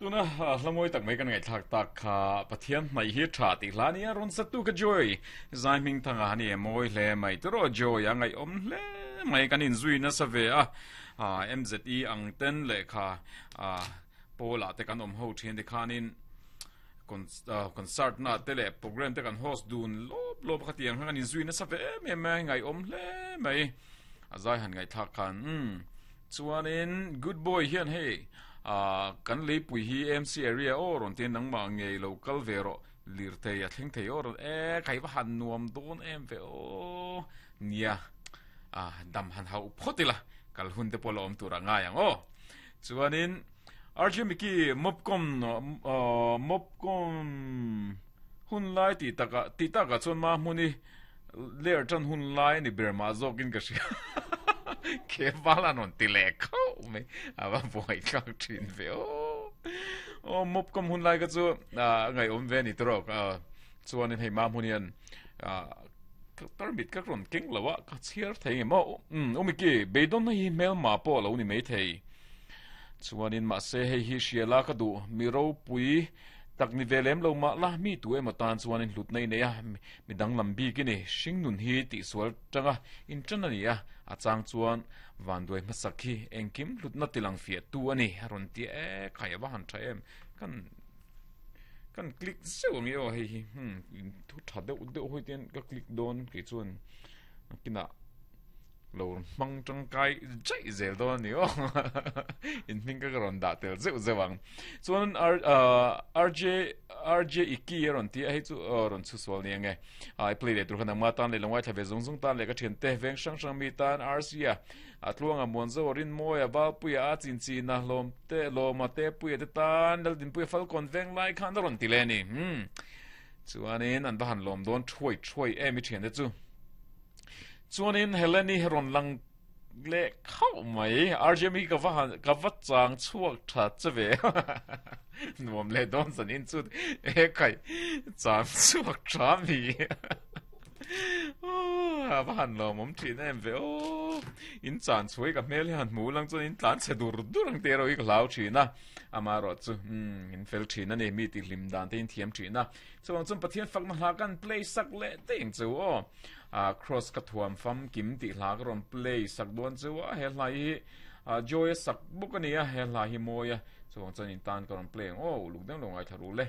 Tuna hla mawi tak mai kan ngaihthlak tak kha Pathian hnaih hi tha tih hla nia rawn satu ka Joy zai hming thanga a ni e mawi hle mai tiraw Joy a ngaihawm hle mai kan inzui nasa ve a MZE ang ten lehkha Paul ah te kan awm ho thin te khanin concert na te leh program te kan host dun lawp lawp a khatiang khan kan inzui nasa ve em em mai ngaihawm hle mai a zai han ngaihthlak khan umm chuanin good boy hian hei ah kan leipui hi MC area aw rawn tiin nangmah ngei lo kal ve rawh lirthei a thleng thei aw rawn e khai va han nuam dawn em ve aw nia ah dam han hauh phawt ila kal hun te pawh la awm tur a ngai ang aw Chuanin RJ Mickey Mopcom Mopcom hun lai tih takah tih takah chuan ma hmun hi ler tan hun lai a ni ber mah zawkin ka hria ke val an rawn ti leh khauh mai a va buai thlak thin ve aw aw Mopcom hun lai kha chu a ngaihawm ve a ni tawk chuanin hei ma hmun hian Tarmit ka rawn keng lo a, ka chhiar thei nge maw? Umm, u Mickey, beidawnna hi hmelma pawh a lo ni maithei. Chuanin mahse hei hi hria la ka duh, mi ropui tak ni ve lem lo mah la, mi tu emaw tan chuanin hlutna i nei a, mi danglam bik i ni, hringnun hi tihsual tanga inṭan a ni a, a chang chuan vanduai hmasak hi engkim hlutna tilang fiah tu a ni, a rawn ti a, e khai a va han ṭha em, kan. Kan click zeuh ang i aw hei hi hmm thu tha deuh deuh hawi te hian ka click dawn kei chuan kinah lo hmang tangkai jaih zel dawn a ni aw in hming ka rawn dah tel zeuh zeuh ang chuan r rj rj iki a rawn ti a hei chu rawn chhu sual ni ange i play leh tur khan nangma tan leh lo ngaithla ve zung zung tan leh ka thian te veng hrang hrang mi tan rc a A tluanga Muanzo a Rinmawia Valpuia a Chinchina hlawm te Lawma te Puia te tan Laldinpuia Falkawn veng lai khan a rawn ti leh a ni. Hmm. Chuanin an va han lawm dawn thuai thuai em i thiante chu. Chuanin Heleni rawn lang leh khauh mai. RJ mi ka va han ka va chang chhuak tha che ve. Nuam leh dawn zan in chu e khai chang chhuak tha mi. A va han lawm awm thin em ve aw. In chan chhuai ka hmel hi han hmu lang chuan in tlan chhe dur dur ang te erawh hi ka hlau thin a. Amaherawh chu umm in fel thin a ni, mi tih hlim dan te in thiam thin a. Chuvang chuan Pathian fakna hla kan play sak leh daih ang chu aw. Ah Cross ka thuam famkim tih hla ka rawn play sak dawn chu a, he hla hi Joy a sak bawk a ni a, he hla hi mawi a. Chuvang chuan in tan ka rawn play ang aw, uluk deuh lo ngaithla ru le.